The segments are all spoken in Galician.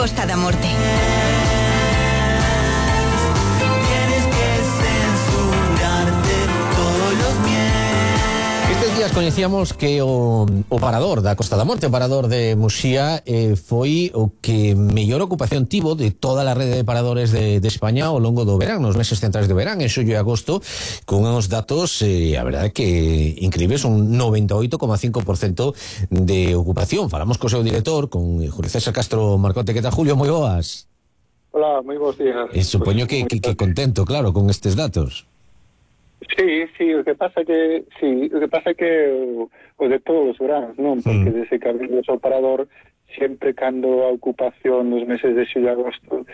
Costa da Morte. Días coñecíamos que o parador da Costa da Morte, o parador de Muxía, foi o que mellor ocupación tivo de toda a rede de paradores de España ao longo do verán, nos meses centrais de verán, en xullo e agosto, con uns datos, a verdade que increíbles, un 98,5% de ocupación. Falamos co seu director, con Julio César Castro Marcote. Que tal, Julio? Moi boas. Hola, moi bons días. Supoño que contento, claro, con estes datos. Sí, o que pasa que o de todos os veranos, non? Porque desde que abrimos o parador, sempre cando a ocupación nos meses de xullo e agosto,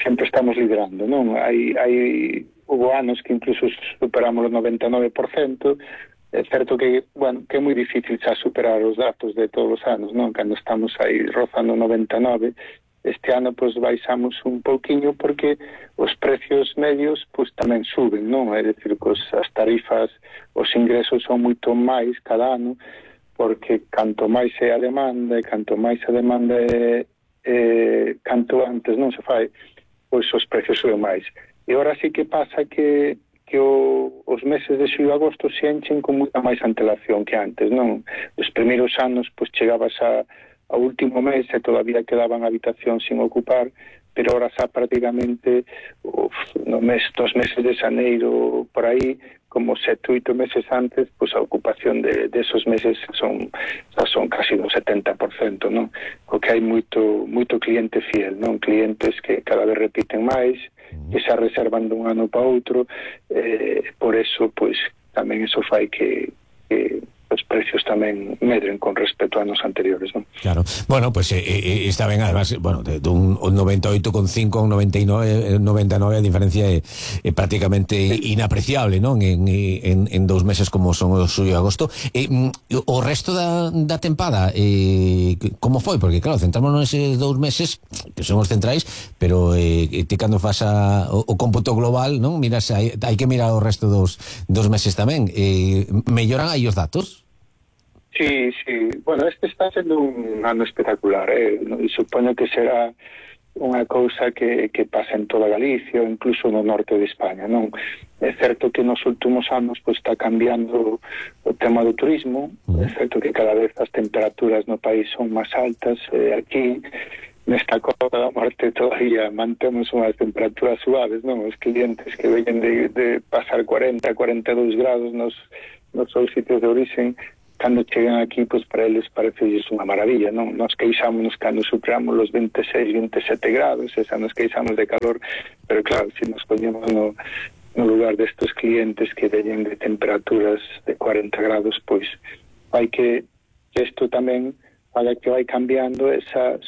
sempre estamos liderando, non? Hubo anos que incluso superamos o 99%. É certo que, que é moi difícil xa superar os datos de todos os anos, non? Cando estamos aí rozando 99%, este ano pois baixamos un pouquiño porque os precios medios pois tamén suben, non? É dicir, pois as tarifas, os ingresos son moito máis cada ano, porque canto máis é a demanda e canto máis a demanda canto antes non se fai, pois os precios suben máis. E agora sí que pasa que os meses de xullo e agosto se enchen con moita máis antelación que antes, non? Os primeiros anos pois chegabas ao último mes e todavía quedaban habitacións sin ocupar, pero ahora xa prácticamente dos meses de xaneiro por aí, como 7 ou 8 meses antes, pois a ocupación de esos meses son casi do 70%, non? O que hai moito cliente fiel, non? Clientes que cada vez repiten máis, que xa reservan dun ano para outro, por eso, pois, tamén eso fai que os precios tamén medren con respecto a anos anteriores, non? Claro. Bueno, pues está ben, además, bueno, de un 98,5 a un 99, a diferencia é prácticamente inapreciable, non? En 2 meses como son o xullo e agosto. O resto da tempada, como foi? Porque, claro, centrámonos neses 2 meses, que son os centrais, pero ti cando fas o cómputo global, non? Miras, hai que mirar o resto dos meses tamén. Melloran aí os datos? Sí. Bueno, este está sendo un ano espectacular, supoño que será unha cousa que pasa en toda Galicia, incluso no norte de España, non? É certo que nos últimos anos pois está cambiando o tema do turismo, é certo que cada vez as temperaturas no país son máis altas, aquí nesta Costa da Morte todavía mantemos unhas temperaturas suaves, non? Os clientes que veñen de pasar 40, 42 grados nos seus sitios de origen, cando chegan aquí, pois para eles parece unha maravilla, non? Nos queixámonos cando superamos os 26, 27 grados, esa nos queixamos de calor, pero claro, se nos poñemos no lugar destes clientes que veñen de temperaturas de 40 grados, pois hai que isto tamén para que vai cambiando,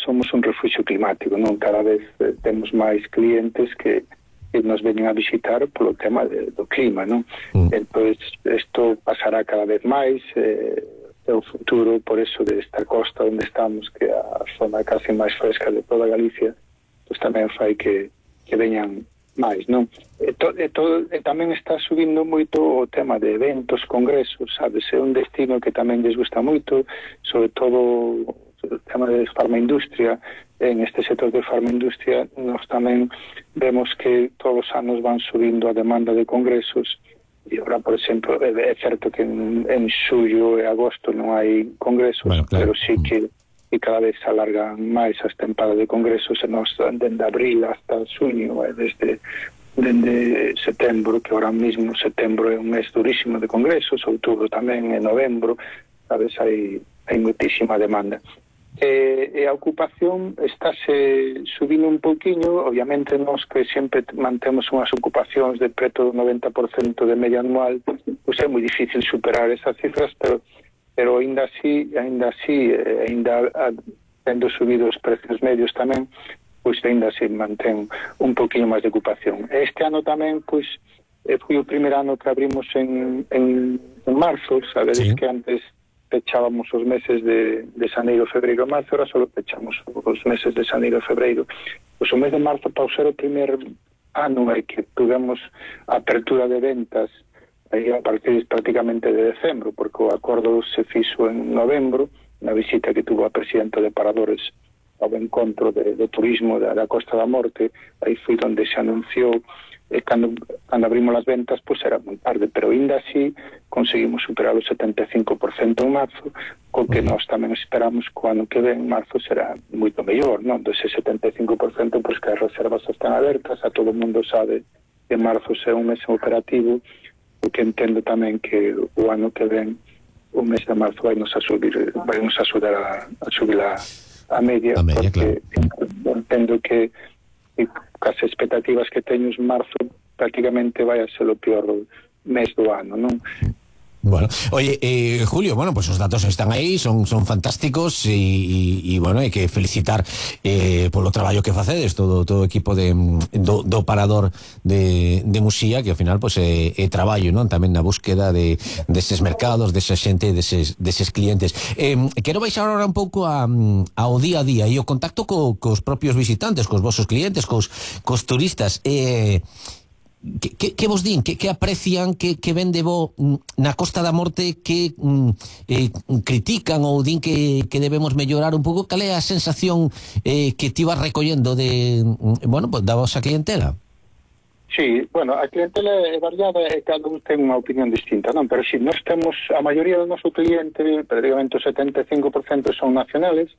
somos un refugio climático, non? Cada vez temos máis clientes que nos veñen a visitar polo tema do clima, non? Entón, isto pasará cada vez máis, o futuro, por eso, desta costa onde estamos, que é a zona casi máis fresca de toda Galicia, pois tamén fai que veñan máis, non? Tamén está subindo moito o tema de eventos, congresos, sabes? É un destino que tamén les gusta moito, sobre todo o tema de farmaindustria. En este sector de farmaindustria nós tamén vemos que todos os anos van subindo a demanda de congresos, e agora, por exemplo, é certo que en xullo e agosto non hai congresos, bueno, claro, pero sí que cada vez se alargan máis as tempadas de congresos, e nós dende abril hasta xuño, desde setembro, que ahora mismo setembro é un mes durísimo de congresos, outubro tamén, e novembro, sabes, hai moitísima demanda. E a ocupación estáse subindo un pouquiño, obviamente nós que sempre mantemos unhas ocupacións de preto do 90% de media anual, pois é moi difícil superar esas cifras, pero ainda así, tendo subido os precios medios tamén, pois ainda así mantén un pouquiño máis de ocupación. Este ano tamén, pois, foi o primeiro ano que abrimos en marzo, sabedes, sí, que antes pechábamos os meses de xaneiro, febreiro e marzo, ahora só pechamos os meses de xaneiro e febreiro. Pois o mes de marzo, para ser o primer ano que tuvemos apertura de ventas aí a partir prácticamente de decembro, porque o acordo se fixo en novembro, na visita que tuvo a presidenta de Paradores ao encontro do turismo da Costa da Morte. Aí foi onde se anunciou, cando abrimos as ventas, pois era moi tarde, pero ainda así conseguimos superar o 75% en marzo, co que nós tamén esperamos que o ano que ven, marzo, será moito mellor, non? Dese 75%, pois que as reservas están abertas, a todo o mundo sabe que marzo é un mes operativo, o que entendo tamén que o ano que ven, o mes de marzo, vai nos axudar a subir a media, porque claro, entendo que as expectativas que teño en marzo prácticamente vai a ser o peor mes do ano, non? Bueno, oye, Julio, bueno, pues os datos están aí, son fantásticos e bueno, hai que felicitar polo traballo que facedes todo o equipo do parador de Muxía, que ao final pues é traballo, non? Tamén na búsqueda deses mercados, desa xente, deses clientes. Quero baixar agora un pouco ao día a día e o contacto cos propios visitantes, cos vosos clientes, cos turistas. Que vos din, que aprecian, que ven de bo na Costa da Morte, que critican ou din que debemos mellorar un pouco? Cal é a sensación que ti vas recollendo da vosa clientela? Sí, bueno, a clientela é variada e cada un ten unha opinión distinta, non? Pero si nós temos, a maioría do noso cliente, prácticamente o 75% son nacionales,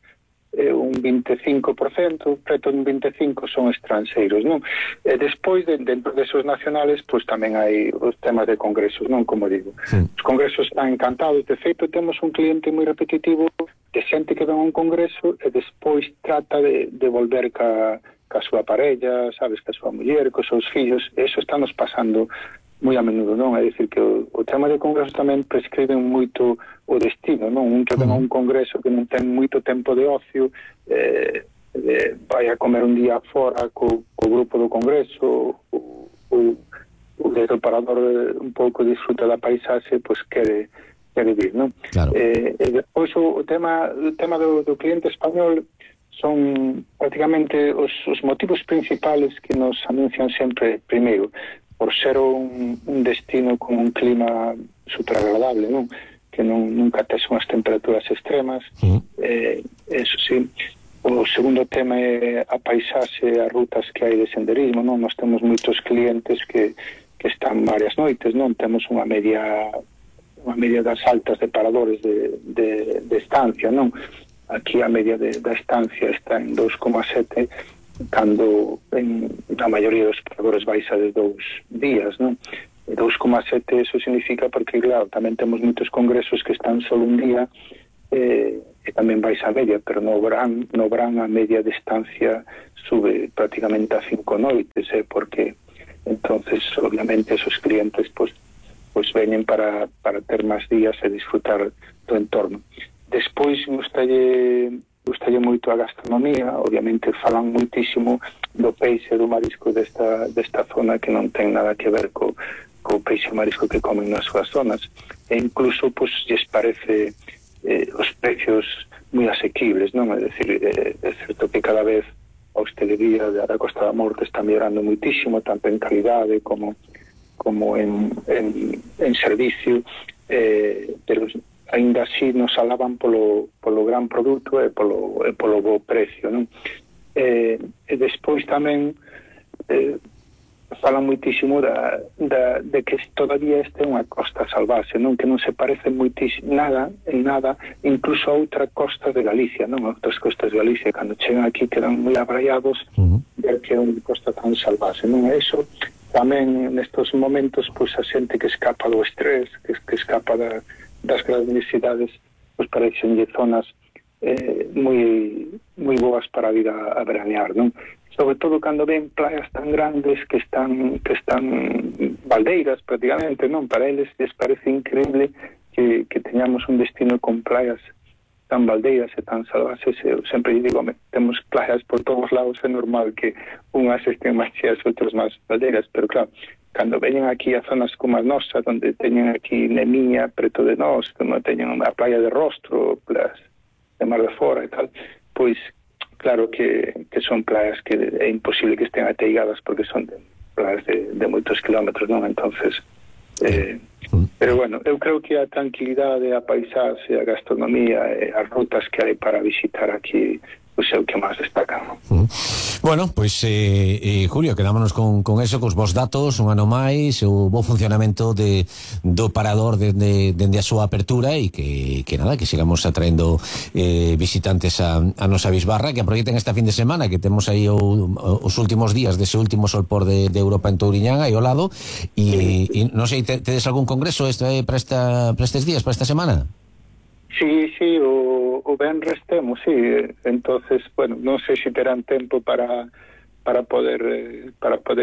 un 25%, preto un 25% son estranxeiros, non? E despois, dentro desos nacionales, pois tamén hai os temas de congresos, non? Como digo, os congresos están encantados. De feito, temos un cliente moi repetitivo de xente que ven a un congreso e despois trata de volver ca súa parella, sabes, ca súa muller, cos seus fillos. Eso estamos pasando moi a menudo, non? É dicir que o tema de congresos tamén prescriben moito o destino, non? Un que ven a un congreso que non ten moito tempo de ocio, vai a comer un día fora co grupo do congreso, o desde o parador un pouco disfruta da paisaxe, pois quere vir, non? Claro. E depois o tema do cliente español son prácticamente os motivos principales que nos anuncian sempre. Primeiro, por ser un destino con un clima super agradable, non? Que nunca tes unhas temperaturas extremas. Eso sí. O segundo tema é a paisaxe, as rutas que hai de senderismo, non? Nós temos moitos clientes que están varias noites, non? Temos unha media das altas de paradores de estancia, non? Aquí a media da estancia está en 2,7, cando na maioría dos paradores baixa de 2 días, non? 2,7 eso significa porque, claro, tamén temos moitos congresos que están só un día e tamén baixa a media, pero no verán a media de estancia sube prácticamente a 5 noites, porque entonces obviamente esos clientes pues veñen para ter máis días e disfrutar do entorno. Despois gustalle moito a gastronomía. Obviamente falan moitísimo do peixe e do marisco desta zona, que non ten nada que ver co peixe e marisco que comen nas súas zonas, e incluso pues lles parece os precios moi asequibles, non? É dicir, é certo que cada vez a hostelería da Costa da Morte está mellorando moitísimo, tanto en calidade como en servicio, pero ainda así nos alaban polo gran produto e polo bo precio, non? E despois tamén falan moitísimo de que todavía este é unha costa salvaxe, non? Que non se parece moitísimo en nada incluso a outra costa de Galicia, non? Outras costas de Galicia, cando chegan aquí quedan moi abraiados ver que é unha costa tan salvaxe, non? E iso tamén nestes momentos, pois a xente que escapa do estrés, que escapa das grandes cidades, pois parecen zonas moi boas para vir a veranear, non? Sobre todo cando ven playas tan grandes que están baldeiras prácticamente, non? Para eles les parece increíble que teñamos un destino con playas tan baldeiras e tan salvaxes. Eu sempre digo, temos playas por todos lados, é normal que unhas estén máis cheas, outras máis baldeiras, pero claro, cando veñen aquí a zonas como a nosa, onde teñen aquí Nemiña preto de nós, onde teñen a playa de Rostro, playas de Mar de Fora e tal, pois claro que son playas que é imposible que estén ateigadas, porque son playas de moitos kilómetros, non? Entonces pero bueno, eu creo que a tranquilidade, a paisaxe, a gastronomía e as rutas que hai para visitar aquí, pois pois é o que máis destaca, non? Bueno, pois Julio, quedámonos con eso, cos vos datos, un ano máis, o bo funcionamento do parador dende a súa apertura, e que nada, que sigamos atraendo visitantes a nosa bisbarra, que aproveiten esta fin de semana, que temos aí os últimos días dese último solpor de Europa en Touriñán, aí ao lado, e non sei, tedes algún congreso para estes días, para esta semana? Sí, o venres temos, sí. Entonces, bueno, non sei se terán tempo para poder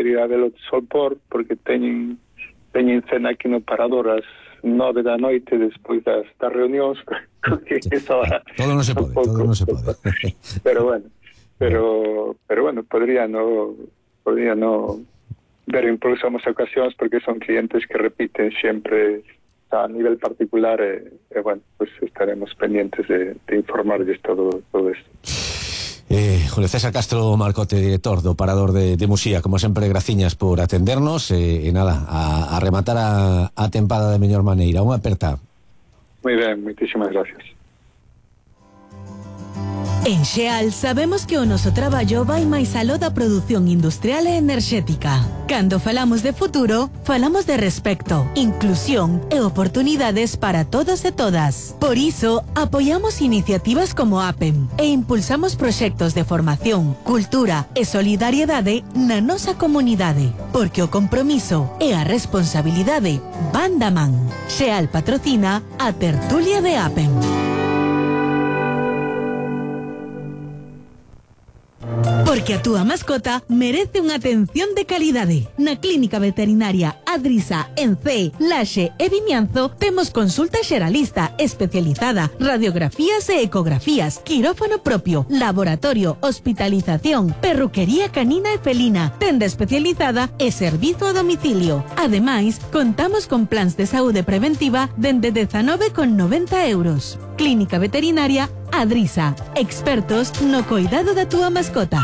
ir a ver o solpor, porque teñen cena aquí no parador ás 9 da noite despois das reunións, porque eso todo non se pode. Pero bueno, podría no ver incluso as ocasións, porque son clientes que repiten sempre a nivel particular, bueno, pues estaremos pendientes de informarles todo esto. Julio César Castro Marcote, director do Parador de Muxía, como sempre, graciñas por atendernos, e nada, a rematar a tempada de mellor maneira. Unha aperta. Moi ben, moitísimas gracias. En Xeal sabemos que o noso traballo vai máis aló da produción industrial e enerxética. Cando falamos de futuro, falamos de respecto, inclusión e oportunidades para todos e todas. Por iso, apoiamos iniciativas como APEM e impulsamos proxectos de formación, cultura e solidariedade na nosa comunidade. Porque o compromiso e a responsabilidade van da man. Xeal patrocina a tertulia de APEM. Porque a túa mascota merece unha atención de calidade. Na Clínica Veterinaria Adrisa, en Cee, Laxe e Vimianzo temos consulta xeralista especializada, radiografías e ecografías, quirófano propio, laboratorio, hospitalización, perruquería canina e felina, tenda especializada e servizo a domicilio. Ademais, contamos con plans de saúde preventiva dende 19,90 euros. Clínica Veterinaria Adrisa, expertos no cuidado da túa mascota.